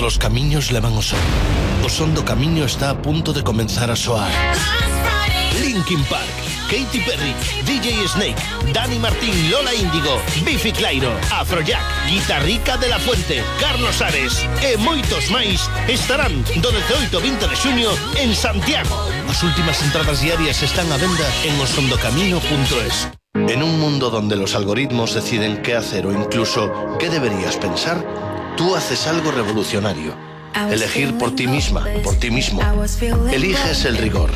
los camiños levan o son. O son do camiño está a punto de comenzar a soar. Linkin Park, Katy Perry, DJ Snake, Dani Martín, Lola Índigo, Biffy Clyro, Afrojack, Guitarrica de la Fuente, Carlos Ares e moitos máis estarán do 18 ao 20 de xuño en Santiago. As últimas entradas diarias están a venda en osondocamino.es. En un mundo donde los algoritmos deciden qué hacer o incluso qué deberías pensar, tú haces algo revolucionario. Elegir por ti misma, por ti mismo. Eliges el rigor.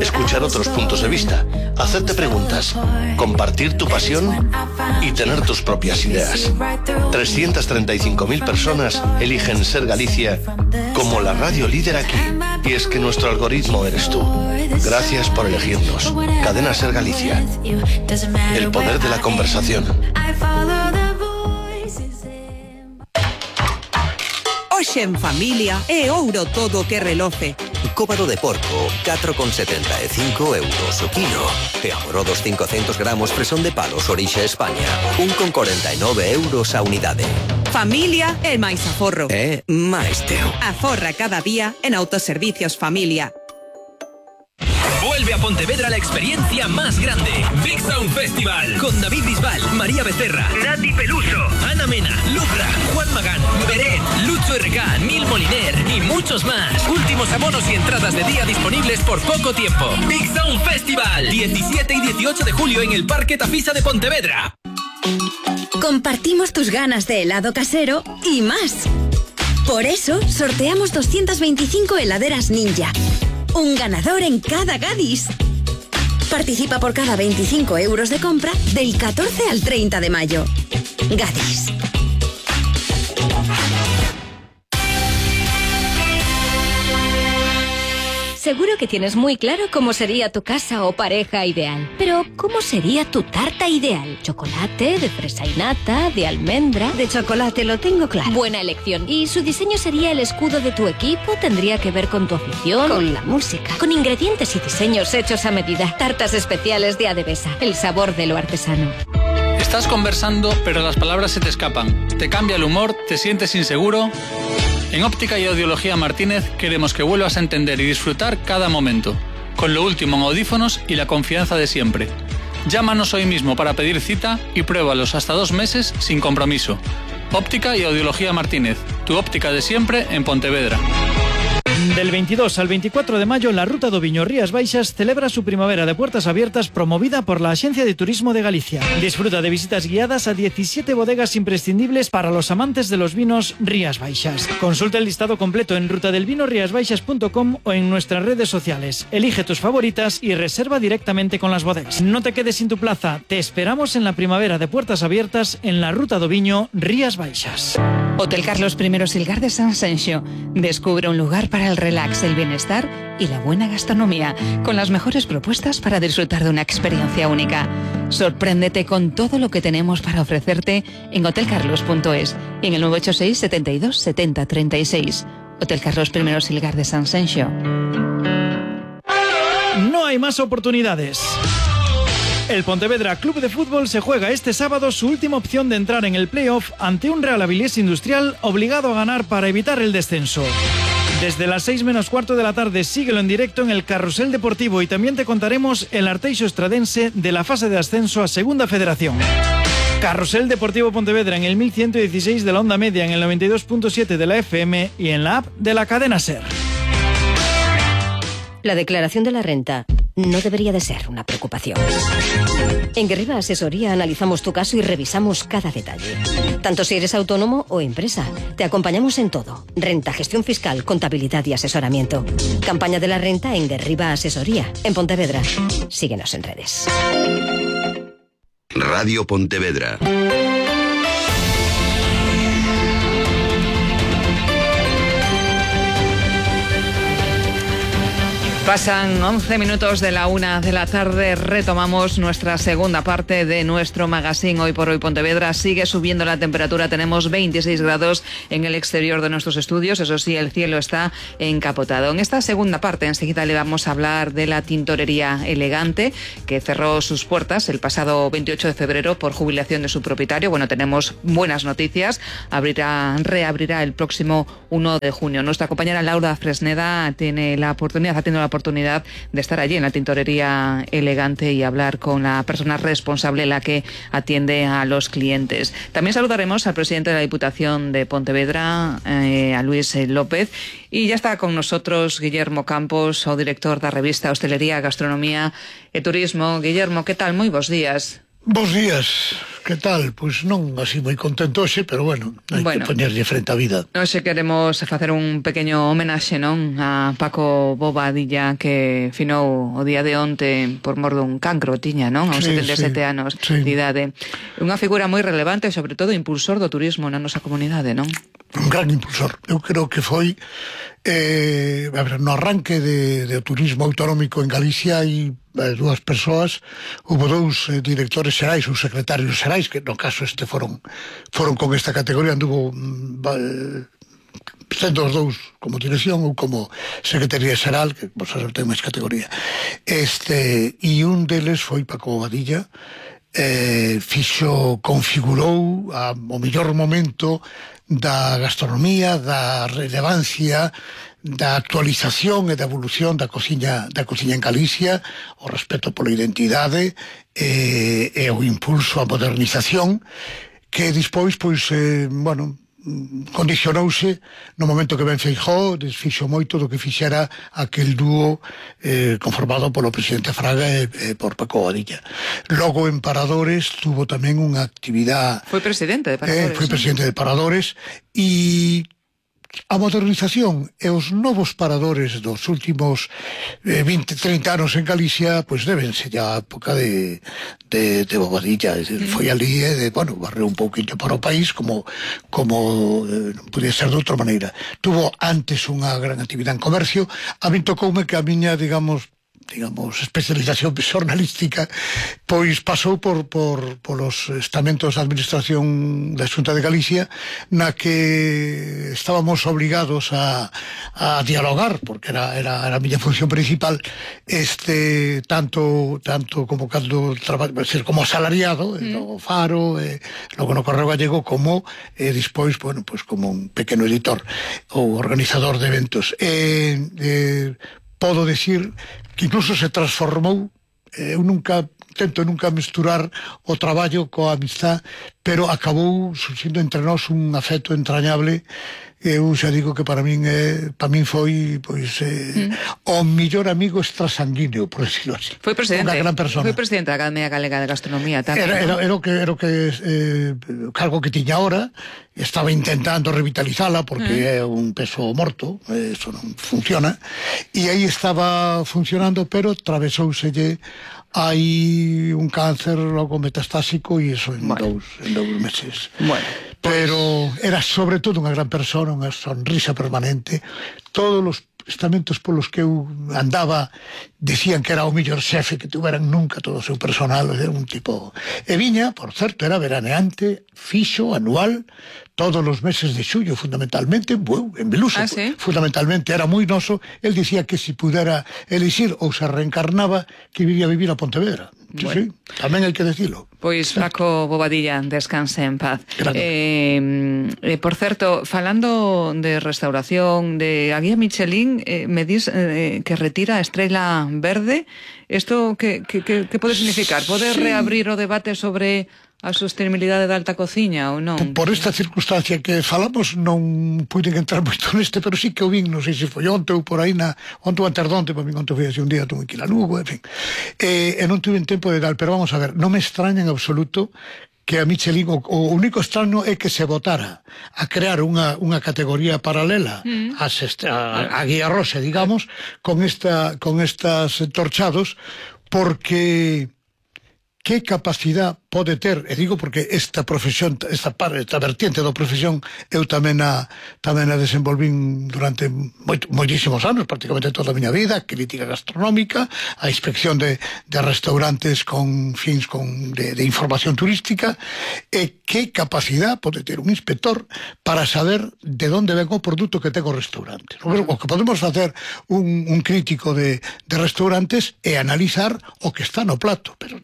Escuchar otros puntos de vista. Hacerte preguntas. Compartir tu pasión y tener tus propias ideas. 335.000 personas eligen ser Galicia como la radio líder aquí. Y es que nuestro algoritmo eres tú. Gracias por elegirnos. Cadena Ser Galicia. El poder de la conversación. Hoxe en familia é ouro todo que reloce. Cóbado de porco, 4,75 euros o kilo. E amorodos 500 gramos fresón de palos orixe España, 1,49 euros a unidade. Familia é máis aforro. É máis teo. Aforra cada día en Autoservicios Familia. Vuelve a Pontevedra la experiencia más grande. Big Sound Festival. Con David Bisbal, María Becerra, Nati Peluso, Ana Mena, Lucra, Juan Magán, Beret, Lucho RK, Nil Moliner y muchos más. Últimos abonos y entradas de día disponibles por poco tiempo. Big Sound Festival. 17 y 18 de julio en el Parque Tafisa de Pontevedra. Compartimos tus ganas de helado casero y más. Por eso sorteamos 225 heladeras Ninja. Un ganador en cada Gadis. Participa por cada 25 euros de compra del 14 al 30 de mayo. Gadis. Seguro que tienes muy claro cómo sería tu casa o pareja ideal. Pero, ¿cómo sería tu tarta ideal? ¿Chocolate, de fresa y nata, de almendra? De chocolate lo tengo claro. Buena elección. ¿Y su diseño sería el escudo de tu equipo? ¿Tendría que ver con tu afición? Con la música. Con ingredientes y diseños hechos a medida. Tartas especiales de Adevesa. El sabor de lo artesano. Estás conversando, pero las palabras se te escapan. Te cambia el humor, te sientes inseguro. En Óptica y Audiología Martínez queremos que vuelvas a entender y disfrutar cada momento, con lo último en audífonos y la confianza de siempre. Llámanos hoy mismo para pedir cita y pruébalos hasta 2 meses sin compromiso. Óptica y Audiología Martínez, tu óptica de siempre en Pontevedra. Del 22 al 24 de mayo, la Ruta do Viño Rías Baixas celebra su primavera de puertas abiertas promovida por la Agencia de Turismo de Galicia. Disfruta de visitas guiadas a 17 bodegas imprescindibles para los amantes de los vinos Rías Baixas. Consulta el listado completo en rutadelvinorriasbaixas.com o en nuestras redes sociales. Elige tus favoritas y reserva directamente con las bodegas. No te quedes sin tu plaza. Te esperamos en la primavera de puertas abiertas en la Ruta do Viño Rías Baixas. Hotel Carlos I Silgar de San Senxo. Descubre un lugar para el relax, el bienestar y la buena gastronomía, con las mejores propuestas para disfrutar de una experiencia única. Sorpréndete con todo lo que tenemos para ofrecerte en hotelcarlos.es y en el 986 72 70 36. Hotel Carlos I Silgar de San Senxo. No hay más oportunidades. El Pontevedra Club de Fútbol se juega este sábado su última opción de entrar en el playoff ante un Real Avilés Industrial obligado a ganar para evitar el descenso. Desde las 6 menos cuarto de la tarde síguelo en directo en el Carrusel Deportivo y también te contaremos el Arteixo Estradense de la fase de ascenso a Segunda Federación. Carrusel Deportivo Pontevedra en el 1116 de la onda media, en el 92.7 de la FM y en la app de la cadena SER. La declaración de la renta no debería de ser una preocupación. En Guerriba Asesoría analizamos tu caso y revisamos cada detalle. Tanto si eres autónomo o empresa. Te acompañamos en todo. Renta, gestión fiscal, contabilidad y asesoramiento. Campaña de la renta en Guerriba Asesoría, en Pontevedra. Síguenos en redes. Radio Pontevedra. Pasan 11 minutos de la 1 de la tarde, retomamos nuestra segunda parte de nuestro magazine. Hoy por hoy Pontevedra sigue subiendo la temperatura, tenemos 26 grados en el exterior de nuestros estudios, eso sí, el cielo está encapotado. En esta segunda parte enseguida le vamos a hablar de la tintorería Elegante, que cerró sus puertas el pasado 28 de febrero por jubilación de su propietario. Bueno, tenemos buenas noticias, reabrirá el próximo 1 de junio. Nuestra compañera Laura Fresneda ha tenido la oportunidad de estar allí en la tintorería Elegante y hablar con la persona responsable, la que atiende a los clientes. También saludaremos al presidente de la Diputación de Pontevedra, a Luis López, y ya está con nosotros Guillermo Campos, o director da revista Hostelería, Gastronomía e Turismo. Guillermo, que tal? Moi bons días. Bos días, que tal? Pois non así moi contento hoxe, pero bueno, hai que poñerlle frente á vida. Hoxe queremos facer un pequeño homenaxe, non, a Paco Bobadilla, que finou o día de onte por mor dun cancro, tiña, non? Aos 77 anos de idade. Unha figura moi relevante e, sobre todo, impulsor do turismo na nosa comunidade, non? Un gran impulsor. Eu creo que foi no arranque do turismo autonómico en Galicia e dúas persoas, houve dous directores xerais ou secretarios xerais, que no caso este foron con esta categoría, anduvo sendo os dous como dirección ou como secretaría xeral, que vos sabes ten máis categoría, e un deles foi Paco Bobadilla. Configurou o mellor momento da gastronomía, da relevancia, da actualización e da evolución da cociña en Galicia, o respeto pola identidade e o impulso á modernización, que despois, condicionouse no momento que ben Feijóo desfixo moito do que fixera aquel dúo conformado polo presidente Fraga e por Paco Bobadilla. Logo en Paradores tuvo tamén unha actividade. Foi presidente de Paradores. Foi presidente de Paradores, e a modernización e os novos paradores dos últimos 20-30 anos en Galicia pois debense a época de Bobadilla. Foi ali barreu un pouquinho para o país como non podía ser de outra maneira. Tuvo antes unha gran actividade en comercio. A min tocoume que a miña, digamos, especialización xornalística pois pasou por los estamentos de administración da Xunta de Galicia, na que estábamos obligados a dialogar, porque era a miña función principal, tanto como cando ser como asalariado no Faro, logo no Correo Gallego, como despois, como un pequeno editor ou organizador de eventos. Podo decir que incluso se transformou. Eu tento nunca mesturar o traballo coa amistad, pero acabou surxindo entre nós un afecto entrañable. Eu xa digo que para min foi o mellor amigo extrasanguíneo, por decirlo así. Foi presidente, unha gran persona. Foi presidente da Academia Galega de Gastronomía tamén. Era o cargo que tiña ahora. Estaba intentando revitalizala porque é un peso morto, eso non funciona, e aí estaba funcionando, pero travesouselle hai un cáncer logo metastásico, e iso en dous meses. Pero era sobre todo unha gran persona, unha sonrisa permanente. Todos os estamentos polos que eu andaba decían que era o mellor xefe que tuveran nunca, todo o seu personal. Era un tipo... E viña, por certo, era veraneante fixo, anual, todos os meses de xullo, fundamentalmente en Beluso. Fundamentalmente era moi noso. El dicía que se pudera elixir ou se reencarnaba, que viría a vivir a Pontevedra. Sí, tamén hai que decilo. Pois Paco Bobadilla, descanse en paz. Por certo, falando de restauración, de a guía Michelin, me dis que retira a estrela verde. Isto que pode significar? Pode reabrir o debate sobre a sostenibilidade da alta cociña ou non? Por esta circunstancia que falamos non puiden entrar moito neste, pero sí que o vin, non sei se foi onte ou por aí, onte ou anterdonte, para mí onte foi así un día, tuve que ir a Lugo, en fin, e non tuve tempo de dar, pero vamos a ver, non me extraña en absoluto que a Michelin, o único extraño é que se votara a crear unha categoría paralela a Guía Rosa, digamos, con estas torchados, porque que capacidad pode ter, e digo porque esta profesión, esta vertiente da profesión, eu tamén a desenvolvín durante moitísimos anos, prácticamente toda a miña vida, crítica gastronómica, a inspección de restaurantes con fins de información turística, e que capacidad pode ter un inspector para saber de onde ven o produto que ten o restaurante. O que podemos facer un crítico de restaurantes é analizar o que está no plato, pero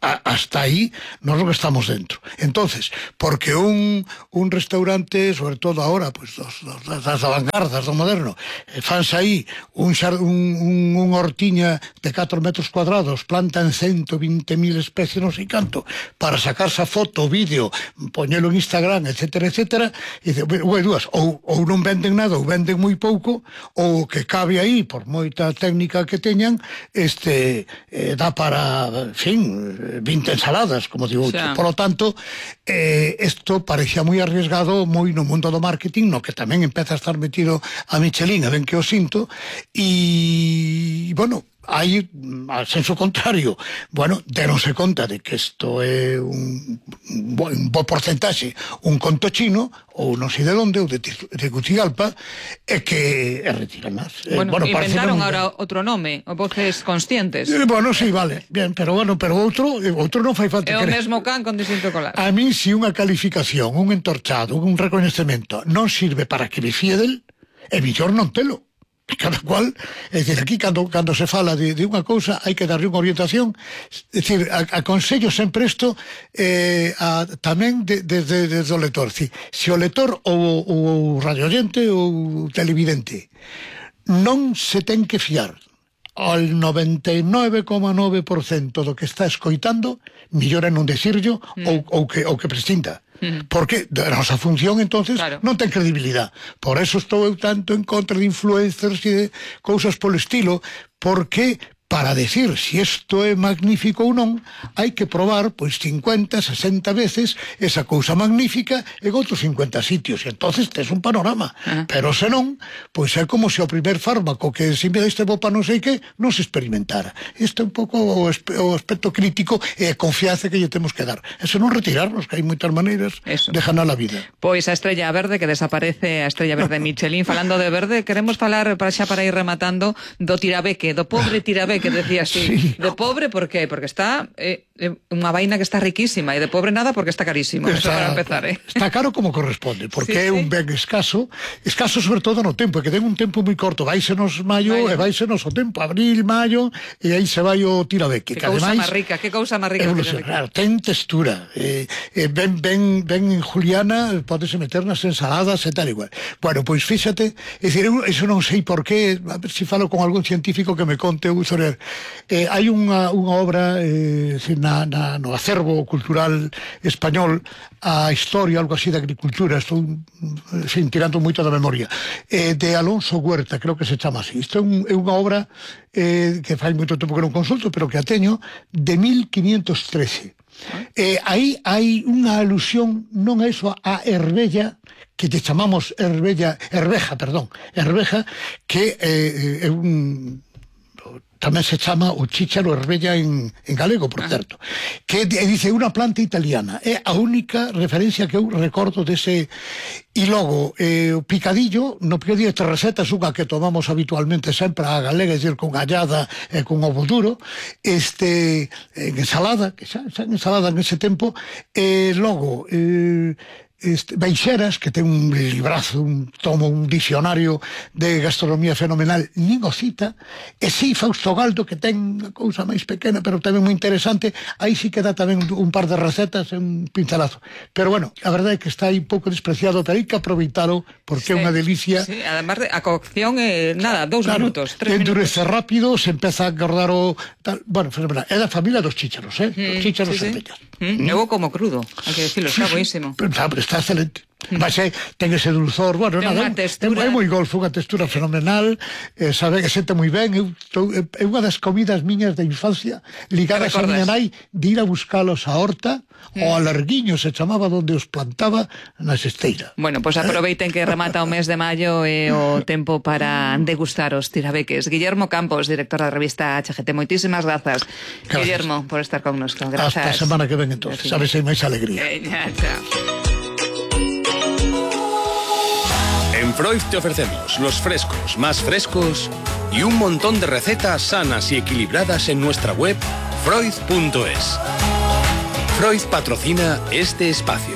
hasta aí nós non estamos dentro. Entonces, porque un restaurante, sobre todo ahora, pues das avangardas do moderno, fanse aí unha hortiña de 4 metros cuadrados, plantan 120.000 especies, non sei canto, para sacarse a foto, vídeo, poñelo en Instagram, etcétera, etcétera, e dice, ou non venden nada, ou venden moi pouco, ou que cabe aí, por moita técnica que teñan, dá para, en fin, 20 ensaladas, como digo. Por lo tanto, isto parecía moi arriesgado, moi no mundo do marketing, no que tamén empeza a estar metido a Michelin, a ben que o sinto, e, bueno, hai, al senso contrario, deronse conta de que isto é un bo porcentaxe, un conto chino, ou non sei de onde, ou de Tegucigalpa, e que retiran máis. Inventaron ahora outro nome, o Voces Conscientes. Sí, vale, bien, pero outro non fai falta. É o mesmo can con distinto colar. A mí, se unha calificación, un entorchado, un recoñecemento non sirve para que me fíe del, é mellor non telo. Cada cual, é dicir, aquí cando se fala de unha cousa hai que darlle unha orientación, é dicir, aconsello sempre isto tamén desde o lector. Se o lector ou radioyente ou televidente non se ten que fiar ao 99,9% do que está escoitando, mellor é non decirlo ou que prescinda. Porque a nosa función, entonces, non ten credibilidade. Por eso estou eu tanto en contra de influencers e de cousas polo estilo, porque para decir si isto é magnífico ou non, hai que probar 50, 60 veces esa cousa magnífica en outros 50 sitios, e entonces tes un panorama. Pero senón, é como se o primer fármaco que se me deste bo para non sei que non se experimentara. Isto é un pouco o aspecto crítico e a confianza que lle temos que dar. E senón retirarnos, que hai moitas maneiras de ganar a vida. Pois a estrella verde, que desaparece, a estrella verde Michelin. Falando de verde, queremos falar para ir rematando do tirabeque, do pobre tirabeque, que decía así. De pobre, por qué? Porque está unha vaina que está riquísima, e de pobre nada porque está carísimo. Eso para empezar, Está caro como corresponde, porque é un ben escaso sobre todo no tempo, que ten un tempo moi corto, váisenos maio e váisenos o tempo, abril, maio, e aí se vai o tirabeque. Que cousa máis rica, que cousa máis rica. Claro, ten textura, ben en juliana, podese meter nas ensaladas e tal igual. Bueno, pois fíxate, é dicir, eso non sei por qué, a ver se falo con algún científico que me conte, hai unha obra no acervo cultural español, a historia, algo así, de agricultura, estou tirando moito da memoria, de Alonso Huerta, creo que se chama así. Isto é unha obra que fai moito tempo que non consulto, pero que a teño, de 1513. Aí hai unha alusión, non é iso, a Herbella, que te chamamos Herbeja, que é un... tamén se chama o chícharo Herbella en galego, por certo, que dice unha planta italiana. É a única referencia que eu recordo dese. E logo, o picadillo, no picadillo de recetas, unha que tomamos habitualmente sempre a galega, é dicir, con gallada e con ovo duro, en ensalada, que xa en ensalada en ese tempo, e logo... Baixeras, que ten un librazo, un dicionario de gastronomía fenomenal, nin o cita, e si Fausto Galdo, que ten unha cousa máis pequena pero tamén moi interesante, aí sí que dá tamén un par de recetas e un pincelazo. Pero bueno, a verdade é que está aí un pouco despreciado, pero hai que aproveitalo porque é unha delicia. Sí, además a cocción nada, 2 minutos, 3 minutos. Endurece rápido, se empeza a engordar o tal, bueno, fenomenal. É da familia dos chícharos, dos chícharos Herbellas. Eu como crudo, hai que decirlo, está buenísimo. Está excelente. Mas ten ese dulzor, bueno, ten nada, é moi golfo, unha textura fenomenal, sabe que sente moi ben. É unha das comidas miñas de infancia ligadas a miña nai, de ir a buscalos a horta, o a Larguiño se chamaba, donde os plantaba na Xesteira. Bueno, pois aproveiten que remata o mes de maio e o tempo para degustar os tirabeques. Guillermo Campos, director da revista HGT, moitísimas grazas. Guillermo, por estar connosco. Grazas. Hasta a semana que ven, entonces. Sabes, hai máis alegría. Chao. En Freud te ofrecemos los frescos más frescos y un montón de recetas sanas y equilibradas en nuestra web freud.es. Freud patrocina este espacio.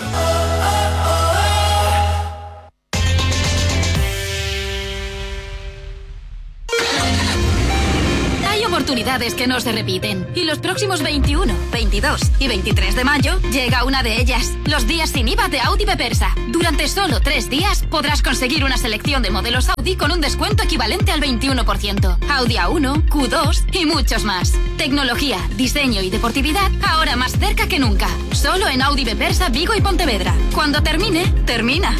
Oportunidades que no se repiten. Y los próximos 21, 22 y 23 de mayo llega una de ellas. Los días sin IVA de Audi Bepersa. Durante solo 3 días podrás conseguir una selección de modelos Audi con un descuento equivalente al 21%. Audi A1, Q2 y muchos más. Tecnología, diseño y deportividad ahora más cerca que nunca. Solo en Audi Bepersa, Vigo y Pontevedra. Cuando termine, termina.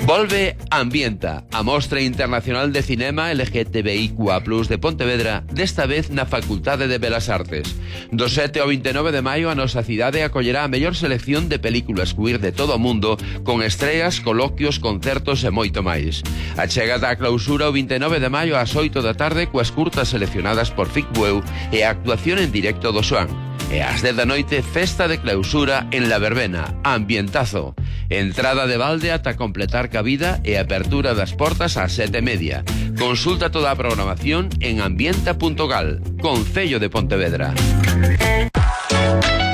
Volve Ambienta, a Mostra Internacional de Cinema LGTBIQA+ de Pontevedra, desta vez na Facultade de Belas Artes. Do 7 ao 29 de maio, a nosa cidade acollerá a mellor selección de películas queer de todo o mundo, con estreas, coloquios, concertos e moito máis. A chegada á clausura o 29 de maio ás 8 da tarde coas curtas seleccionadas por Ficbueu e a actuación en directo do Xoán. E ás 10 da noite, festa de clausura en La Verbena, Ambientazo. Entrada de balde ata completar cabida e apertura das portas ás 7:30. Consulta toda a programación en ambienta.gal, Concello de Pontevedra.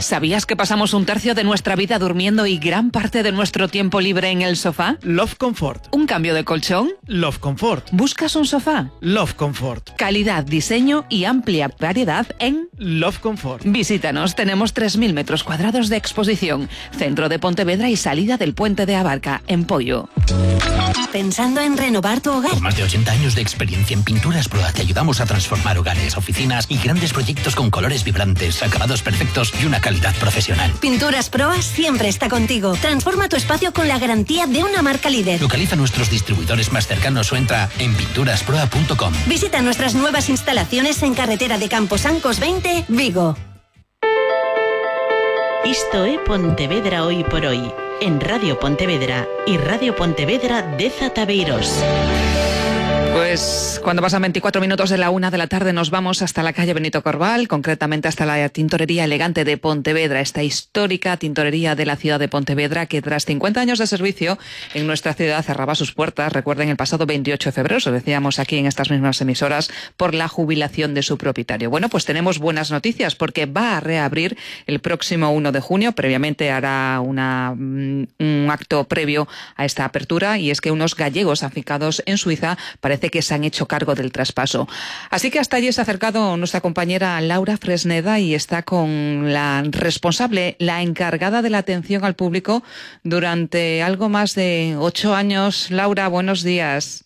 ¿Sabías que pasamos un tercio de nuestra vida durmiendo y gran parte de nuestro tiempo libre en el sofá? Love Comfort. ¿Un cambio de colchón? Love Comfort. ¿Buscas un sofá? Love Comfort. Calidad, diseño y amplia variedad en Love Comfort. Visítanos, tenemos 3.000 metros cuadrados de exposición, centro de Pontevedra y salida del puente de Abarca, en Pollo. ¿Pensando en renovar tu hogar? Con más de 80 años de experiencia en Pinturas Proa te ayudamos a transformar hogares, oficinas y grandes proyectos con colores vibrantes, acabados perfectos y una calidad profesional. Pinturas Proa siempre está contigo. Transforma tu espacio con la garantía de una marca líder. Localiza nuestros distribuidores más cercanos o entra en pinturasproa.com. Visita nuestras nuevas instalaciones en carretera de Camposancos 20, Vigo. Isto é Pontevedra Hoy por Hoy, en Radio Pontevedra y Radio Pontevedra de Zatabeiros. Pues cuando pasan 24 minutos de la 1 de la tarde nos vamos hasta la calle Benito Corval, concretamente hasta la Tintorería Elegante de Pontevedra, esta histórica tintorería de la ciudad de Pontevedra que tras 50 años de servicio en nuestra ciudad cerraba sus puertas, recuerden, el pasado 28 de febrero, os decíamos aquí en estas mismas emisoras, por la jubilación de su propietario. Bueno, pues tenemos buenas noticias porque va a reabrir el próximo 1 de junio, previamente hará un acto previo a esta apertura y es que unos gallegos afincados en Suiza parece que se han hecho cargo del traspaso. Así que hasta allí se ha acercado nuestra compañera Laura Fresneda y está con la responsable, la encargada de la atención al público durante algo más de 8 años. Laura, buenos días.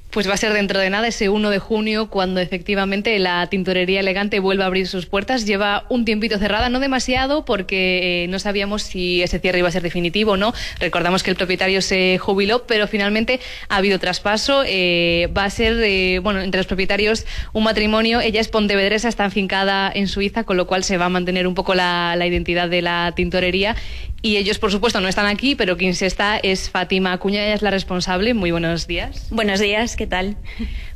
Pues va a ser dentro de nada, ese 1 de junio, cuando efectivamente la Tintorería Elegante vuelva a abrir sus puertas. Lleva un tiempito cerrada, no demasiado, porque no sabíamos si ese cierre iba a ser definitivo o no. Recordamos que el propietario se jubiló, pero finalmente ha habido traspaso. Va a ser, bueno, entre los propietarios un matrimonio. Ella es pontevedresa, está afincada en Suiza, con lo cual se va a mantener un poco la identidad de la tintorería. Y ellos, por supuesto, no están aquí, pero quien se está es Fátima Acuña, ella es la responsable. Muy buenos días. Buenos días, ¿qué tal?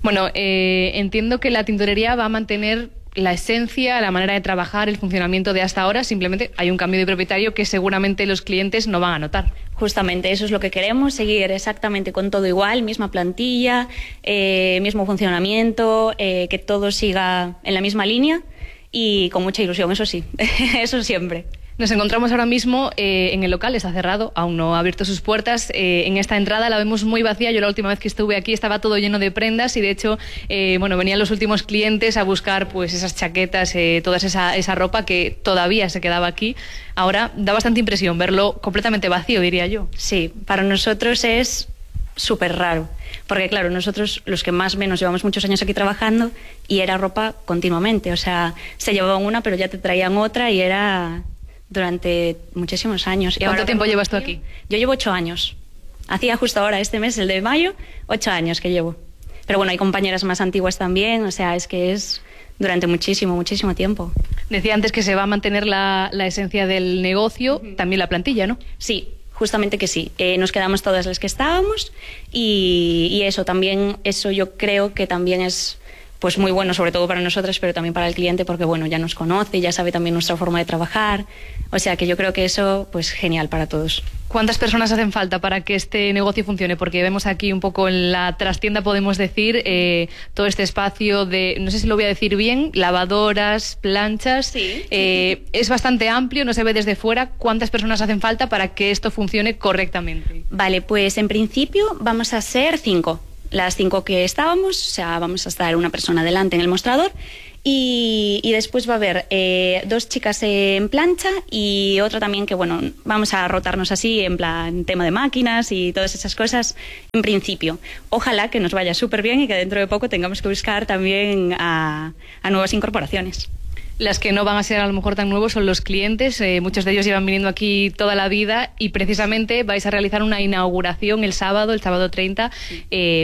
Bueno, entiendo que la tintorería va a mantener la esencia, la manera de trabajar, el funcionamiento de hasta ahora. Simplemente hay un cambio de propietario que seguramente los clientes no van a notar. Justamente, eso es lo que queremos, seguir exactamente con todo igual, misma plantilla, mismo funcionamiento, que todo siga en la misma línea y con mucha ilusión, eso sí, eso siempre. Nos encontramos ahora mismo en el local, está cerrado, aún no ha abierto sus puertas. En esta entrada la vemos muy vacía. Yo la última vez que estuve aquí estaba todo lleno de prendas y de hecho, bueno, venían los últimos clientes a buscar pues esas chaquetas, toda esa ropa que todavía se quedaba aquí. Ahora da bastante impresión verlo completamente vacío, diría yo. Sí, para nosotros es súper raro, porque claro, nosotros los que más o menos llevamos muchos años aquí trabajando y era ropa continuamente, o sea, se llevaban una pero ya te traían otra y era durante muchísimos años. ¿Cuánto tiempo llevas tú aquí? Yo llevo 8 años. Hacía justo ahora, este mes, el de mayo, 8 años que llevo. Pero bueno, hay compañeras más antiguas también, o sea, es que es durante muchísimo, muchísimo tiempo. Decía antes que se va a mantener la esencia del negocio, también la plantilla, ¿no? Sí, justamente que sí. Nos quedamos todas las que estábamos y eso también, eso yo creo que también es pues muy bueno, sobre todo para nosotras, pero también para el cliente, porque bueno, ya nos conoce, ya sabe también nuestra forma de trabajar. O sea que yo creo que eso, pues genial para todos. ¿Cuántas personas hacen falta para que este negocio funcione? Porque vemos aquí un poco en la trastienda, podemos decir, todo este espacio de, no sé si lo voy a decir bien, lavadoras, planchas. Sí. Es bastante amplio, no se ve desde fuera. ¿Cuántas personas hacen falta para que esto funcione correctamente? Vale, pues en principio vamos a ser 5. Las 5 que estábamos, o sea, vamos a estar una persona delante en el mostrador y después va a haber 2 chicas en plancha y otra también que, bueno, vamos a rotarnos así en plan tema de máquinas y todas esas cosas en principio. Ojalá que nos vaya súper bien y que dentro de poco tengamos que buscar también a nuevas incorporaciones. Las que no van a ser a lo mejor tan nuevos son los clientes, muchos de ellos llevan viniendo aquí toda la vida y precisamente vais a realizar una inauguración el sábado 30,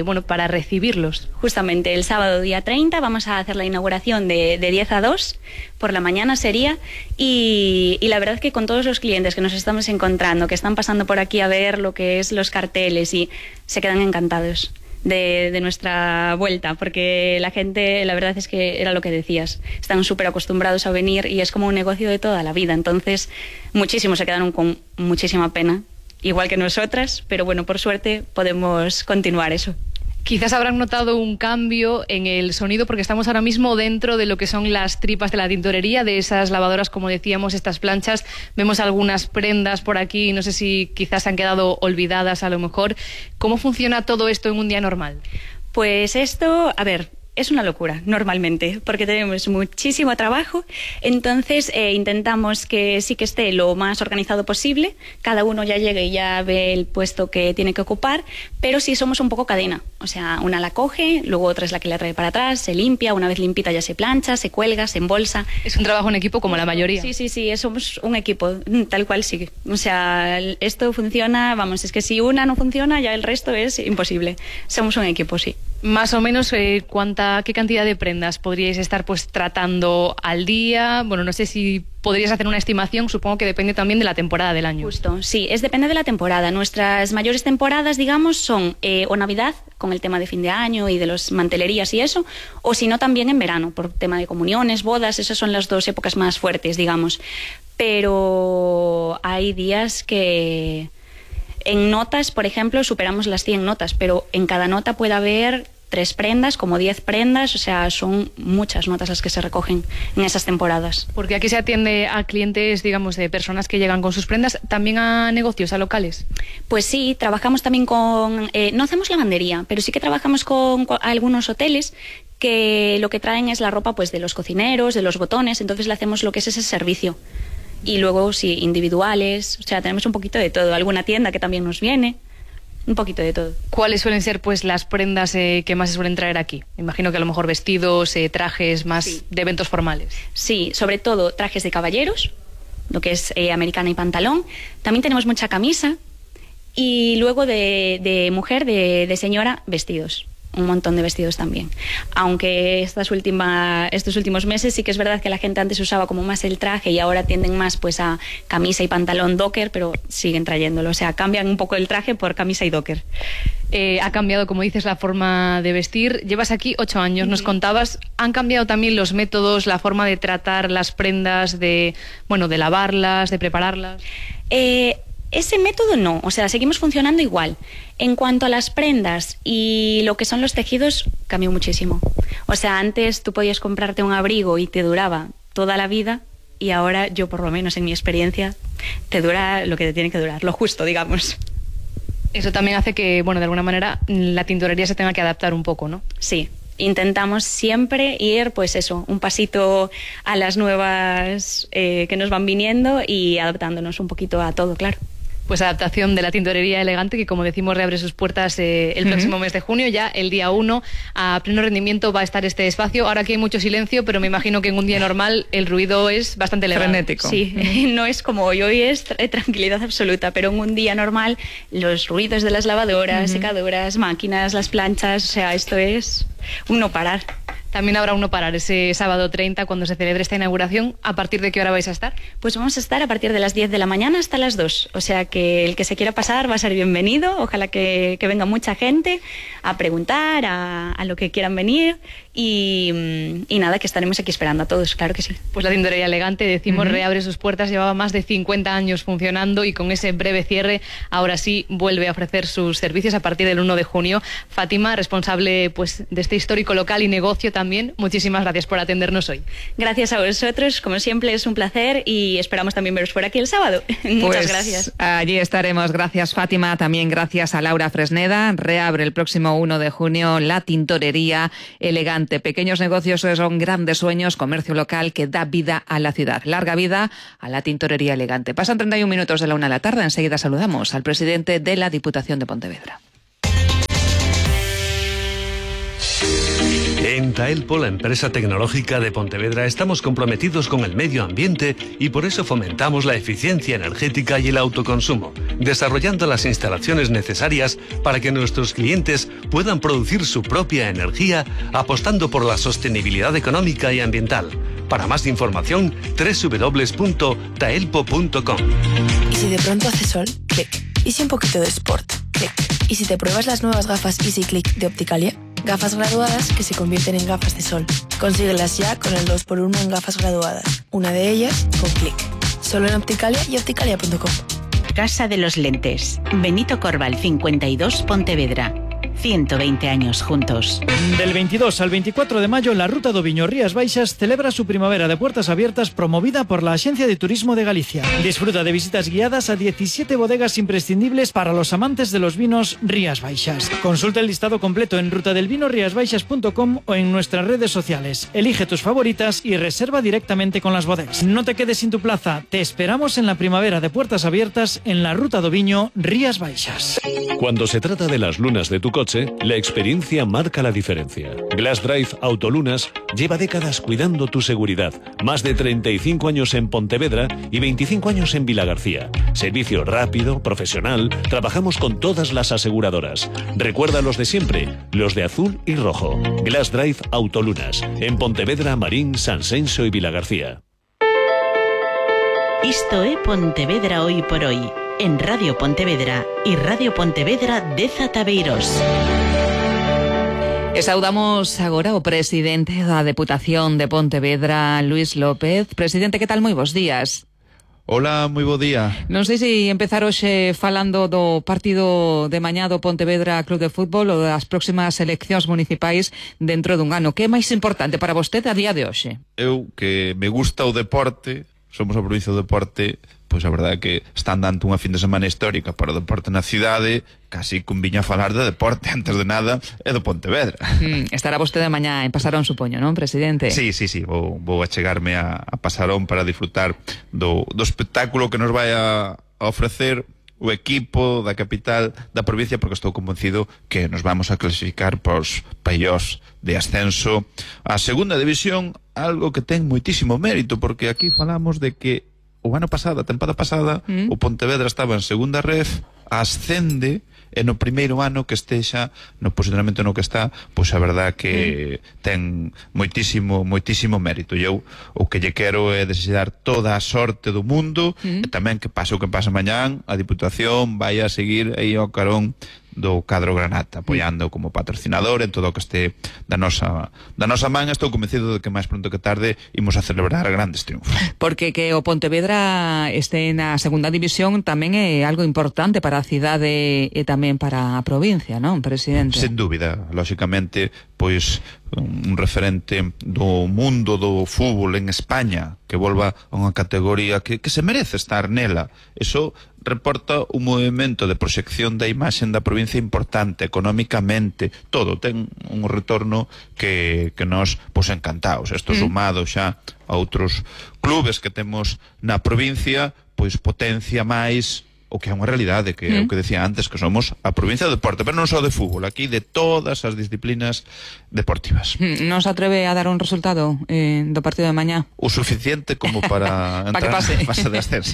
bueno, para recibirlos. Justamente el sábado día 30 vamos a hacer la inauguración de 10 a 2, por la mañana sería, y la verdad que con todos los clientes que nos estamos encontrando, que están pasando por aquí a ver lo que es los carteles y se quedan encantados de nuestra vuelta, porque la gente, la verdad es que era lo que decías, están súper acostumbrados a venir y es como un negocio de toda la vida, entonces muchísimos se quedaron con muchísima pena, igual que nosotras, pero bueno, por suerte podemos continuar eso. Quizás habrán notado un cambio en el sonido porque estamos ahora mismo dentro de lo que son las tripas de la tintorería, de esas lavadoras, como decíamos, estas planchas. Vemos algunas prendas por aquí, no sé si quizás han quedado olvidadas a lo mejor. ¿Cómo funciona todo esto en un día normal? Pues esto, a ver, es una locura normalmente porque tenemos muchísimo trabajo, entonces intentamos que sí que esté lo más organizado posible, cada uno ya llegue y ya ve el puesto que tiene que ocupar, pero sí somos un poco cadena, o sea, una la coge, luego otra es la que la trae para atrás, se limpia, una vez limpita ya se plancha, se cuelga, se embolsa. Es un trabajo en equipo como la mayoría. Sí, somos un equipo, tal cual sí, o sea, esto funciona, vamos, es que si una no funciona ya el resto es imposible, somos un equipo, sí. Más o menos, ¿qué cantidad de prendas podríais estar pues tratando al día? Bueno, no sé si podrías hacer una estimación, supongo que depende también de la temporada del año. Justo, sí, depende de la temporada. Nuestras mayores temporadas, digamos, son o Navidad, con el tema de fin de año y de las mantelerías y eso, o si no también en verano, por tema de comuniones, bodas, esas son las 2 épocas más fuertes, digamos. Pero hay días que en notas, por ejemplo, superamos las 100 notas, pero en cada nota puede haber 3 prendas, como 10 prendas, o sea, son muchas notas las que se recogen en esas temporadas. Porque aquí se atiende a clientes, digamos, de personas que llegan con sus prendas, ¿también a negocios, a locales? Pues sí, trabajamos también con, no hacemos lavandería, pero sí que trabajamos con algunos hoteles que lo que traen es la ropa pues de los cocineros, de los botones, entonces le hacemos lo que es ese servicio. Y luego, sí, individuales, o sea, tenemos un poquito de todo. Alguna tienda que también nos viene, un poquito de todo. ¿Cuáles suelen ser pues las prendas que más se suelen traer aquí? Imagino que a lo mejor vestidos, trajes más de eventos formales. Sí, sobre todo trajes de caballeros, lo que es americana y pantalón. También tenemos mucha camisa y luego de mujer, de señora, vestidos. Un montón de vestidos también. Aunque estos últimos meses sí que es verdad que la gente antes usaba como más el traje y ahora tienden más pues a camisa y pantalón docker, pero siguen trayéndolo. O sea, cambian un poco el traje por camisa y docker. Ha cambiado, como dices, la forma de vestir. Llevas aquí 8 años, nos contabas. ¿Han cambiado también los métodos, la forma de tratar las prendas, de lavarlas, de prepararlas? Ese método no, o sea, seguimos funcionando igual. En cuanto a las prendas y lo que son los tejidos, cambió muchísimo. O sea, antes tú podías comprarte un abrigo y te duraba toda la vida y ahora yo, por lo menos en mi experiencia, te dura lo que te tiene que durar, lo justo, digamos. Eso también hace que, de alguna manera, la tintorería se tenga que adaptar un poco, ¿no? Sí. Intentamos siempre ir, pues eso, un pasito a las nuevas que nos van viniendo y adaptándonos un poquito a todo, claro. Pues adaptación de la tintorería Elegante, que como decimos reabre sus puertas el próximo mes de junio, ya el día 1 a pleno rendimiento va a estar este espacio. Ahora aquí hay mucho silencio, pero me imagino que en un día normal el ruido es bastante elevado. Frenético. Sí, no es como hoy es tranquilidad absoluta, pero en un día normal los ruidos de las lavadoras, secadoras, máquinas, las planchas, o sea, esto es un no parar. También habrá un no parar ese sábado 30 cuando se celebre esta inauguración. ¿A partir de qué hora vais a estar? Pues vamos a estar a partir de las 10 de la mañana hasta las 2. O sea que el que se quiera pasar va a ser bienvenido. Ojalá que venga mucha gente a preguntar, a lo que quieran venir. Y nada, que estaremos aquí esperando a todos, claro que sí. Pues la tintorería Elegante, decimos, reabre sus puertas. Llevaba más de 50 años funcionando y con ese breve cierre ahora sí vuelve a ofrecer sus servicios a partir del 1 de junio. Fátima, responsable pues de este histórico local y negocio también, muchísimas gracias por atendernos hoy. Gracias a vosotros, como siempre es un placer y esperamos también veros por aquí el sábado. Muchas gracias. Allí estaremos. Gracias, Fátima. También gracias a Laura Fresneda. Reabre el próximo 1 de junio la tintorería Elegante. Pequeños negocios son grandes sueños, comercio local que da vida a la ciudad. Larga vida a la tintorería Elegante. Pasan 31 minutos de la 1 de la tarde. Enseguida saludamos al presidente de la Diputación de Pontevedra. En Taelpo, la empresa tecnológica de Pontevedra, estamos comprometidos con el medio ambiente y por eso fomentamos la eficiencia energética y el autoconsumo, desarrollando las instalaciones necesarias para que nuestros clientes puedan producir su propia energía, apostando por la sostenibilidad económica y ambiental. Para más información, www.taelpo.com. ¿Y si de pronto hace sol? Clic. ¿Y si un poquito de sport? Clic. ¿Y si te pruebas las nuevas gafas Easy Click de Opticalia? Gafas graduadas que se convierten en gafas de sol. Consíguelas ya con el 2x1 en gafas graduadas. Una de ellas con Click. Solo en Opticalia y opticalia.com. Casa de los Lentes. Benito Corval 52, Pontevedra. 120 años juntos. Del 22 al 24 de mayo, la Ruta do Viño Rías Baixas celebra su primavera de puertas abiertas promovida por la Agencia de Turismo de Galicia. Disfruta de visitas guiadas a 17 bodegas imprescindibles para los amantes de los vinos Rías Baixas. Consulta el listado completo en rutadelvinoriasbaixas.com o en nuestras redes sociales. Elige tus favoritas y reserva directamente con las bodegas. No te quedes sin tu plaza. Te esperamos en la primavera de puertas abiertas en la Ruta do Viño Rías Baixas. Cuando se trata de las lunas de tu coche, la experiencia marca la diferencia. Glass Drive Autolunas lleva décadas cuidando tu seguridad. Más de 35 años en Pontevedra y 25 años en Vilagarcía. Servicio rápido, profesional, trabajamos con todas las aseguradoras. Recuerda los de siempre, los de azul y rojo. Glass Drive Autolunas, en Pontevedra, Marín, Sanxenxo y Vilagarcía. Isto é Pontevedra hoy por hoy, en Radio Pontevedra y Radio Pontevedra de Zataveiros. E saudamos agora o presidente da Deputación de Pontevedra, Luís López. Presidente, que tal? Moi bons días. Hola, moi bo día. Non sei se empezar hoxe falando do partido de mañá do Pontevedra Club de Fútbol ou das próximas eleccións municipais dentro dun ano. Que é máis importante para vostede a día de hoxe? Eu, que me gusta o deporte, somos a provincia do deporte, pois a verdade é que están dando unha fin de semana histórica para o deporte na cidade, casi conviña falar de deporte, antes de nada, é do Pontevedra. Estará vostede mañá en Pasarón, supoño, non, presidente? Sí, vou achegarme a Pasarón para disfrutar do espectáculo que nos vai a ofrecer o equipo da capital da provincia, porque estou convencido que nos vamos a clasificar pros playoffs de ascenso á segunda división, algo que ten moitísimo mérito, porque aquí falamos de que o ano pasado, a tempada pasada, o Pontevedra estaba en segunda ref, ascende, e no primeiro ano que estexa no posicionamento no que está, pois a verdade que ten moitísimo mérito. E eu o que lle quero é desear toda a sorte do mundo, e tamén que pase o que pase mañán, a Diputación vai a seguir aí ao carón do cadro Granata, apoiando como patrocinador en todo o que este da nosa man. Estou convencido de que máis pronto que tarde imos a celebrar grandes triunfos. Porque que o Pontevedra este na segunda división tamén é algo importante para a cidade e tamén para a provincia, non, presidente? Sen dúbida, lóxicamente, pois un referente do mundo do fútbol en España que volva a unha categoría que se merece estar nela. Eso reporta un movimento de proxección da imaxe da provincia importante, económicamente, todo ten un retorno que nos pois encantados. Isto sumado xa a outros clubes que temos na provincia, pois potencia máis o que é unha realidade, que é o que decía antes, que somos a provincia do deporte, pero non só de fútbol, aquí de todas as disciplinas deportivas. Non se atreve a dar un resultado do partido de mañá? O suficiente como para entrar pa na fase de ascenso.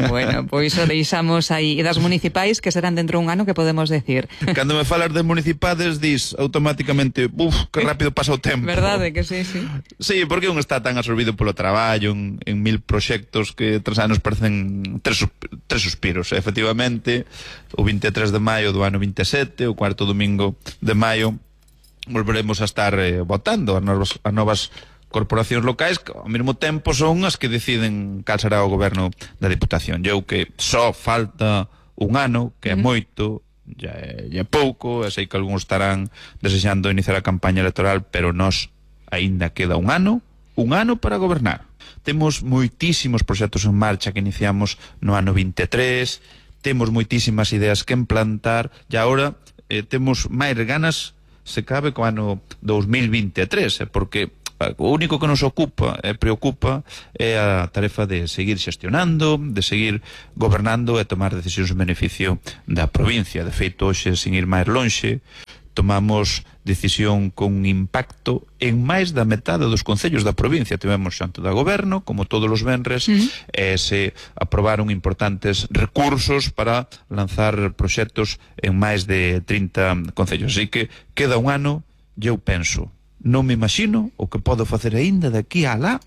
Bueno, pois o deixamos aí. E das municipais, que serán dentro un ano, que podemos decir? Cando me falas de municipades, dis automáticamente, que rápido pasa o tempo. Verdade que sí, sí. Sí, porque un está tan absorbido polo traballo en 1000 proxectos que 3 anos parecen tres suspiros. Efectivamente, o 23 de maio do ano 27, o cuarto domingo de maio, volveremos a estar votando as novas corporacións locais, que ao mesmo tempo son as que deciden cal será o goberno da Diputación. Eu que só falta un ano, que é moito, ya é pouco, e sei que algúns estarán desexando iniciar a campaña electoral, pero nós aínda queda un ano para gobernar. Temos moitísimos proxectos en marcha que iniciamos no ano 23, temos moitísimas ideas que implantar, e agora temos máis ganas, se cabe, co ano 2023, porque o único que nos preocupa é a tarefa de seguir xestionando, de seguir gobernando e tomar decisións en beneficio da provincia. De feito, hoxe, sin ir máis lonxe, tomamos decisión con impacto en máis da metade dos concellos da provincia. Tivemos xanto da goberno, como todos os venres, e se aprobaron importantes recursos para lanzar proxectos en máis de 30 concellos. Así que queda un ano, e eu penso, non me imagino o que podo facer aínda de aquí a lá,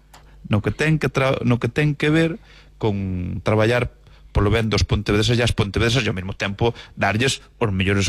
no que ten que ver con traballar polo ben dos pontevedreses e as pontevedresas, e ao mesmo tempo darlles os mellores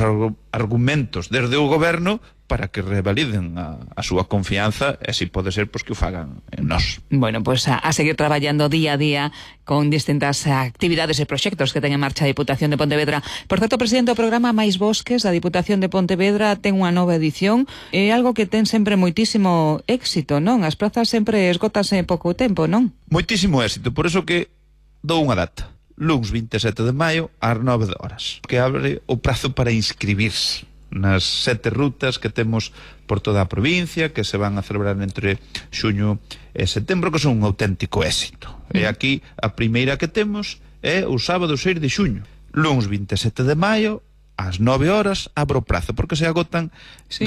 argumentos desde o goberno para que revaliden a súa confianza, e se pode ser, pois que o fagan en nós. Bueno, pois a seguir traballando día a día con distintas actividades e proxectos que ten en marcha a Diputación de Pontevedra. Por certo, presidente, o programa Máis Bosques da Diputación de Pontevedra ten unha nova edición, é algo que ten sempre moitísimo éxito, non? As prazas sempre esgotanse en pouco tempo, non? Moitísimo éxito, por iso que dou unha data. Luns 27 de maio ás 9 horas, que abre o prazo para inscribirse nas 7 rutas que temos por toda a provincia, que se van a celebrar entre xuño e setembro, que son un auténtico éxito. E aquí a primeira que temos é o sábado 6 de xuño. Luns 27 de maio ás 9 horas abro o prazo, porque se agotan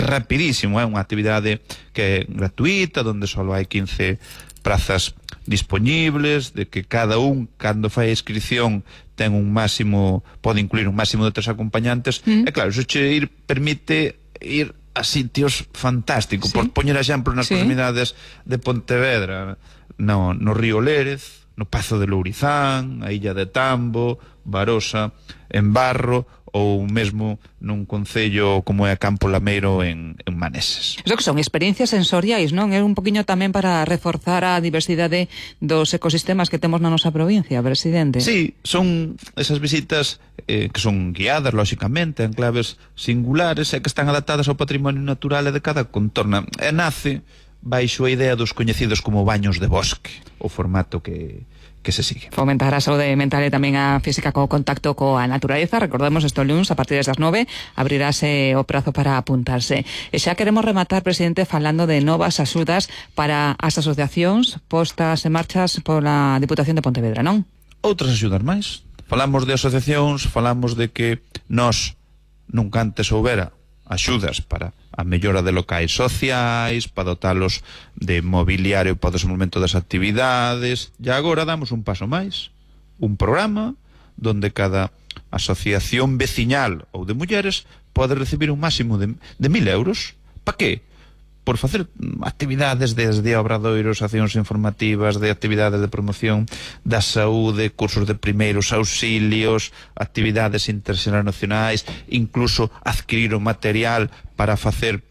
rapidísimo. É unha actividade que é gratuita, onde só hai 15 prazas disponibles, de que cada un, cando fai a inscripción, ten un máximo, pode incluir un máximo de 3 acompañantes, e claro, iso che permite ir a sitios fantásticos. Por poñer exemplo nas proximidades de Pontevedra, no río Lérez, no Pazo de Lourizán, a Illa de Tambo, Barosa, en Barro, ou mesmo nun concello como é Campo Lameiro en Maneses. Iso que son experiencias sensoriais, non? É un poquinho tamén para reforzar a diversidade dos ecosistemas que temos na nosa provincia, presidente. Sí, son esas visitas que son guiadas, lóxicamente, en claves singulares e que están adaptadas ao patrimonio natural e de cada contorno. E nace baixo a idea dos coñecidos como baños de bosque, o formato que se sigue. Fomentar a saúde mental e tamén a física co contacto coa naturaleza. Recordemos, este luns, a partir das 9, abrirase o prazo para apuntarse. E xa queremos rematar, presidente, falando de novas axudas para as asociacións postas en marchas pola Diputación de Pontevedra, non? Outras axudas máis. Falamos de asociacións, falamos de que nós nunca antes houbera axudas para a mellora de locais sociais, para dotalos de mobiliario para o desenvolvemento das actividades, e agora damos un paso máis, un programa donde cada asociación veciñal ou de mulleres pode recibir un máximo de 1.000 euros. Pa que? Por facer actividades desde obradoiros, accións informativas, de actividades de promoción da saúde, cursos de primeiros auxilios, actividades internacionais, incluso adquirir o material para facer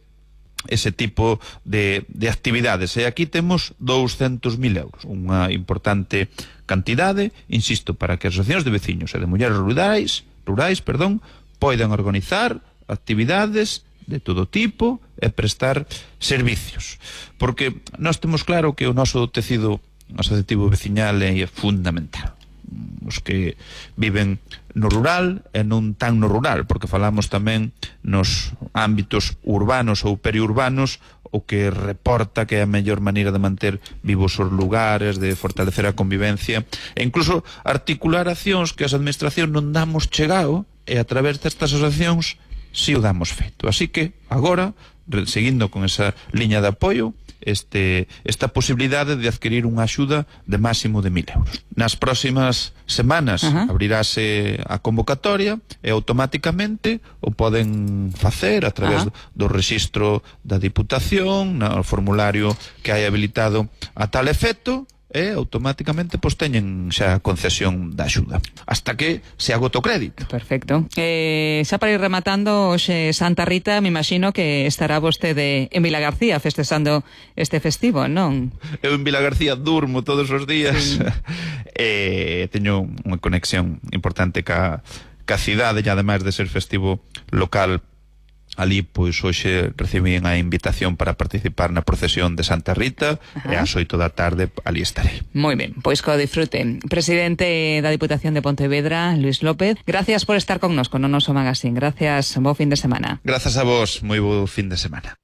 ese tipo de actividades. E aquí temos 200.000 euros, unha importante cantidade, insisto, para que as asociacións de veciños e de mulleres rurais, poidan organizar actividades de todo tipo e prestar servicios. Porque nós temos claro que o noso tecido asociativo veciñal é fundamental. os que viven no rural e non tan no rural, porque falamos tamén nos ámbitos urbanos ou periurbanos, o que reporta que é a mellor maneira de manter vivos os lugares, de fortalecer a convivencia e incluso articular accións que as administracións non damos chegado, e a través destas asociacións si o damos feito. Así que agora, seguindo con esa liña de apoio, esta posibilidade de adquirir unha axuda de máximo de 1.000 euros. Nas próximas semanas abrirase a convocatoria e automáticamente o poden facer a través do rexistro da Diputación, no formulario que hai habilitado a tal efecto, e automáticamente teñen xa a concesión da axuda hasta que se agota o crédito. Perfecto. Xa para ir rematando, hoxe Santa Rita, me imagino que estará vostede en Vilagarcía festexando este festivo, non? Eu en Vilagarcía durmo todos os días. Teño unha conexión importante ca cidade, e ademais de ser festivo local ali, pois hoxe recibín a invitación para participar na procesión de Santa Rita. E ás 8 da tarde ali estarei. Moi ben, pois co disfruten. Presidente da Diputación de Pontevedra, Luis López, gracias por estar connosco no noso magazín. Gracias, bo fin de semana. Grazas a vos, moi bo fin de semana.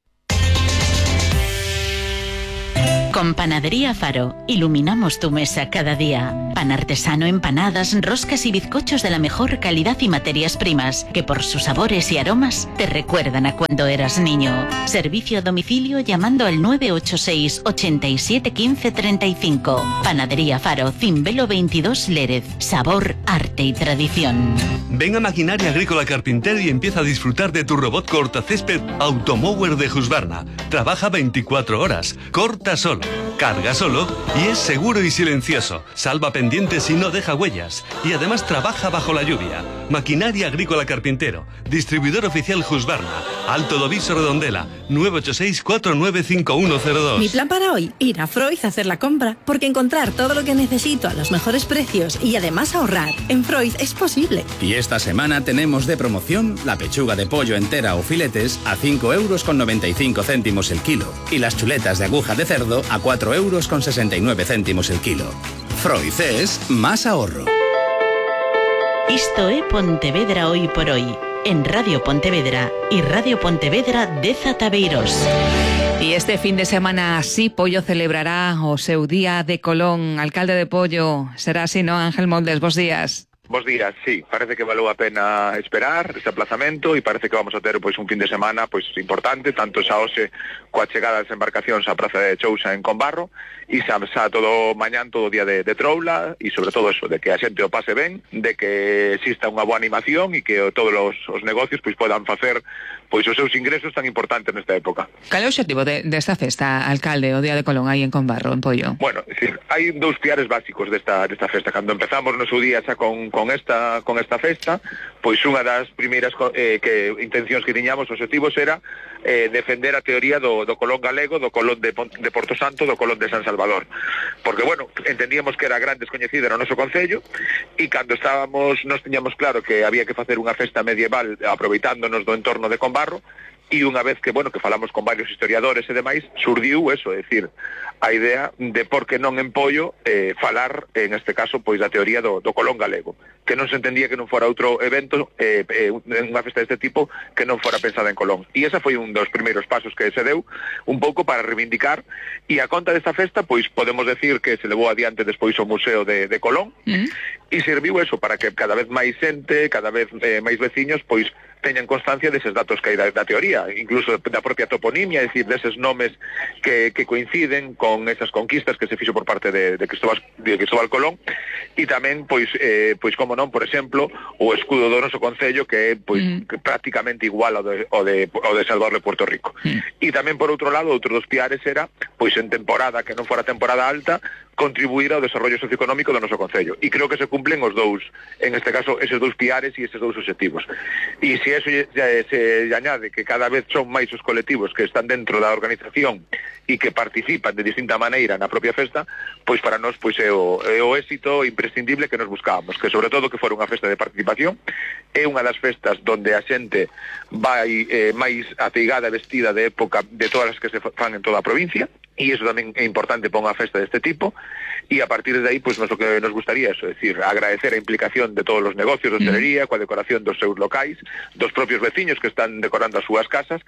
Con Panadería Faro, iluminamos tu mesa cada día. Pan artesano, empanadas, roscas y bizcochos de la mejor calidad y materias primas, que por sus sabores y aromas te recuerdan a cuando eras niño. Servicio a domicilio llamando al 986 87 15 35. Panadería Faro, Cimbelo 22 Lérez. Sabor, arte y tradición. Ven a Maquinaria Agrícola Carpintero y empieza a disfrutar de tu robot cortacésped Automower de Husqvarna. Trabaja 24 horas, corta solo, carga solo y es seguro y silencioso. Salva pendientes y no deja huellas. Y además trabaja bajo la lluvia. Maquinaria Agrícola Carpintero. Distribuidor oficial Husqvarna. Alto Doviso Redondela. 986 495102. Mi plan para hoy, ir a Freud a hacer la compra. Porque encontrar todo lo que necesito a los mejores precios y además ahorrar en Freud es posible. Y esta semana tenemos de promoción la pechuga de pollo entera o filetes a 5,95 € el kilo. Y las chuletas de aguja de cerdo a 4,69 € el kilo. Freud es más ahorro. Isto é Pontevedra hoy por hoy, en Radio Pontevedra y Radio Pontevedra de Zataveiros. Y este fin de semana sí, Pollo celebrará o seu Día de Colón. Alcalde de Pollo, será así, ¿no? Ángel Moldes, bos días. Bos días, sí, parece que valeu a pena esperar este aplazamento e parece que vamos a ter pois un fin de semana pois importante, tanto xa hoxe coa chegada das embarcacións á Praza de Chousa en Combarro e xa todo mañán, todo o día de troula e sobre todo eso, de que a xente o pase ben, de que exista unha boa animación e que todos os negocios pois podan facer pois os seus ingresos tan importantes nesta época. Cal é o objetivo desta festa, alcalde, o Día de Colón aí en Combarro, en Pollo? Bueno, é dicir, hai dous piares básicos desta festa. Cando empezamos no seu día xa con esta festa, pois unha das primeiras intencións que tiñamos, objetivos era defender a teoría do Colón galego, do Colón de Porto Santo, do Colón de San Salvador. Porque, bueno, entendíamos que era gran descoñecida no noso concello e cando nos tiñamos claro que había que facer unha festa medieval aproveitándonos do entorno de Combarro, e unha vez que, bueno, que falamos con varios historiadores e demais, surdiu eso, é dicir, a idea de por que non en Pollo falar, en este caso, pois da teoría do Colón galego, que non se entendía que non fora outro evento, unha festa deste tipo, que non fora pensada en Colón. E esa foi un dos primeiros pasos que se deu, un pouco para reivindicar, e a conta desta festa, pois podemos decir que se levou adiante despois o Museo de Colón, e serviu eso para que cada vez máis xente, cada vez máis veciños, pois teñan constancia deses datos que hai da teoría, incluso da propia toponimia, é dicir, deses nomes que coinciden con esas conquistas que se fixo por parte de Cristóbal Colón, e tamén, pois como non, por exemplo, o escudo do noso concello que é prácticamente igual ao de Salvador de Puerto Rico. E tamén, por outro lado, outro dos piares era, pois en temporada que non fora temporada alta, contribuir ao desarrollo socioeconómico do noso concello. E creo que se cumplen os dous, en este caso, eses dous piares e eses dous objetivos. E se eso se añade que cada vez son máis os colectivos que están dentro da organización e que participan de distinta maneira na propia festa, pois para nós pois é o éxito imprescindible que nos buscábamos, que sobre todo que fora unha festa de participación, é unha das festas donde a xente vai máis ateigada, vestida de época de todas as que se fan en toda a provincia, y eso tamén é importante para unha festa deste tipo, e a partir de aí, pois, lo que nos gustaría é decir, agradecer a implicación de todos os negocios de hostelería, coa decoración dos seus locais, dos propios veciños que están decorando as súas casas,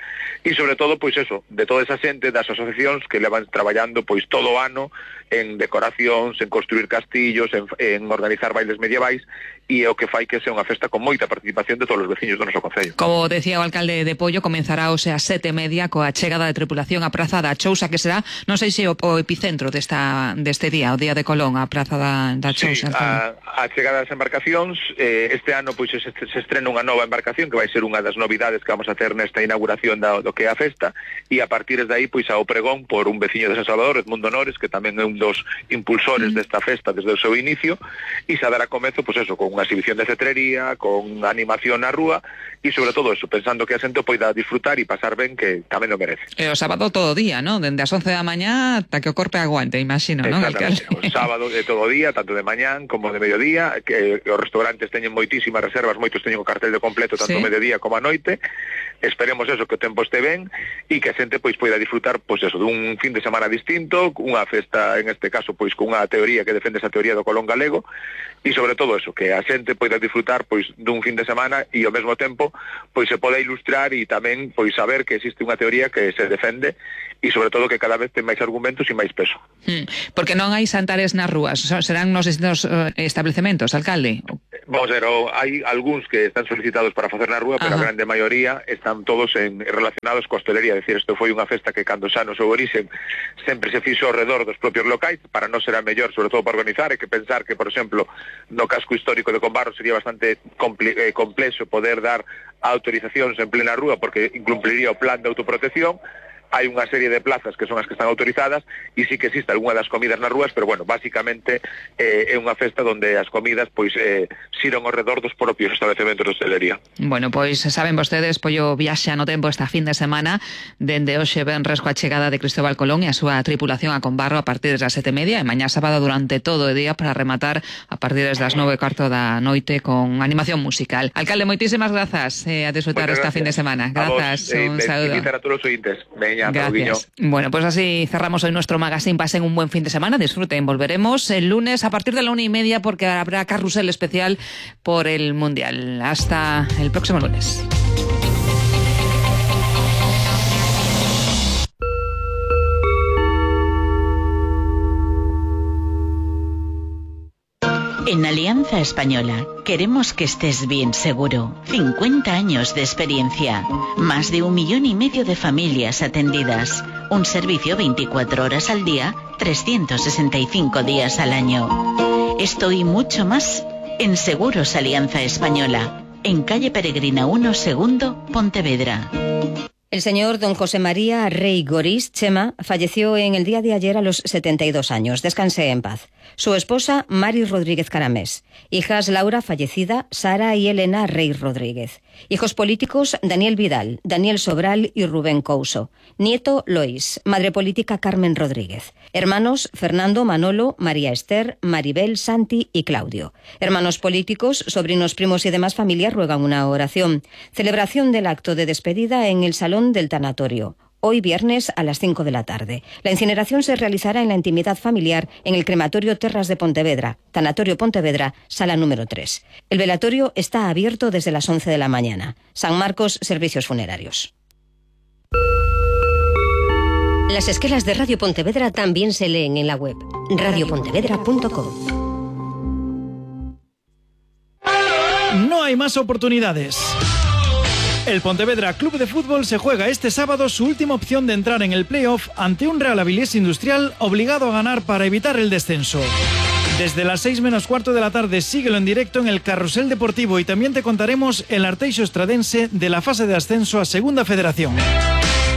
e sobre todo, pois eso, de toda esa xente das asociacións que levan traballando, pois, todo o ano en decoracións, en construir castillos, en organizar bailes medievais, e é o que fai que sea unha festa con moita participación de todos os veciños do noso concello. Como decía o alcalde de Pollo, comenzará hoxe a 7:30 coa chegada de tripulación á Praza da Chousa, que será, non sei se o epicentro deste día, o Día de Colón, a Praza da Chousa. Sí, a chegada das embarcacións, este ano pois se estrena unha nova embarcación que vai ser unha das novidades que vamos a ter nesta inauguración do que é a festa, e a partir de aí pois ao pregón por un veciño de San Salvador, Edmundo Nores, que tamén é un dos impulsores desta festa desde o seu inicio, e se dará comezo pois eso, con unha exhibición de cetrería, con animación na rúa, e sobre todo eso, pensando que a xente poida disfrutar e pasar ben, que tamén o merece. E o sábado todo o día, ¿no? Dende as 11 da mañá ata que o corpo aguante, imagino, ¿no? O sábado de todo o día, tanto de mañán como de mediodía, que os restaurantes teñen moitísimas reservas, moitos teñen o cartel de completo tanto mediodía como a noite. Esperemos eso, que o tempo este ben e que a xente pois poida disfrutar pois eso, dun fin de semana distinto, unha festa en este caso pois con unha teoría que defende esa teoría do Colón galego, e sobre todo eso, que a xente poida disfrutar pois dun fin de semana e ao mesmo tempo pois se poda ilustrar e tamén pois saber que existe unha teoría que se defende e sobre todo que cada vez ten máis argumentos e máis peso. Porque non hai santares nas rúas, serán nos distintos establecementos, alcalde? Vamos a ver, hai algúns que están solicitados para facer na rúa, pero a grande maioría están todos relacionados coa hostelería, é dicir, isto foi unha festa que cando xa no seu origen sempre se fixo ao redor dos propios locais, para non ser a mellor, sobre todo para organizar, e que pensar que, por exemplo, no casco histórico de Combarro sería bastante complexo poder dar autorizacións en plena rúa, porque incumpliría o plan de autoprotección. Hai unha serie de plazas que son as que están autorizadas e sí que existe algunha das comidas nas rúas, pero bueno, básicamente é unha festa onde as comidas pois xiran ao redor dos propios establecementos de hostelería. Bueno, pois saben vostedes, Pollo viaxa no tempo esta fin de semana, dende hoxe venres coa chegada de Cristóbal Colón e a súa tripulación a Combarro a partir das 7:30 e mañá sábado durante todo o día para rematar a partir das 9:15 da noite con animación musical. Alcalde, moitísimas grazas a disfrutar esta fin de semana. Grazas, un saúdo. A todos os oyentes. Gracias. Bueno, pues así cerramos hoy nuestro magazine. Pasen un buen fin de semana, disfruten. Volveremos el lunes a partir de la 1:30 porque habrá carrusel especial por el Mundial. Hasta el próximo lunes. En Alianza Española queremos que estés bien seguro. 50 años de experiencia, más de 1,5 millones de familias atendidas, un servicio 24 horas al día, 365 días al año. Esto y mucho más en Seguros Alianza Española, en calle Peregrina 1, segundo, Pontevedra. El señor don José María Rey Gorís Chema falleció en el día de ayer a los 72 años. Descanse en paz. Su esposa, Mari Rodríguez Caramés. Hijas, Laura, fallecida, Sara y Elena Rey Rodríguez. Hijos políticos, Daniel Vidal, Daniel Sobral y Rubén Couso. Nieto, Lois. Madre política, Carmen Rodríguez. Hermanos, Fernando, Manolo, María Esther, Maribel, Santi y Claudio. Hermanos políticos, sobrinos, primos y demás familias ruegan una oración. Celebración del acto de despedida en el Salón del Tanatorio. Hoy viernes a las 5 de la tarde. La incineración se realizará en la intimidad familiar en el crematorio Terras de Pontevedra, Tanatorio Pontevedra, sala número 3. El velatorio está abierto desde las 11 de la mañana. San Marcos, servicios funerarios. Las esquelas de Radio Pontevedra también se leen en la web radiopontevedra.com. No hay más oportunidades. El Pontevedra Club de Fútbol se juega este sábado su última opción de entrar en el playoff ante un Real Avilés Industrial obligado a ganar para evitar el descenso. Desde las 6:15 de la tarde síguelo en directo en el Carrusel Deportivo y también te contaremos el Arteixo Estradense de la fase de ascenso a Segunda Federación.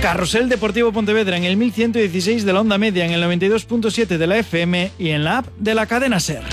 Carrusel Deportivo Pontevedra en el 1116 de la onda media, en el 92.7 de la FM y en la app de la cadena SER.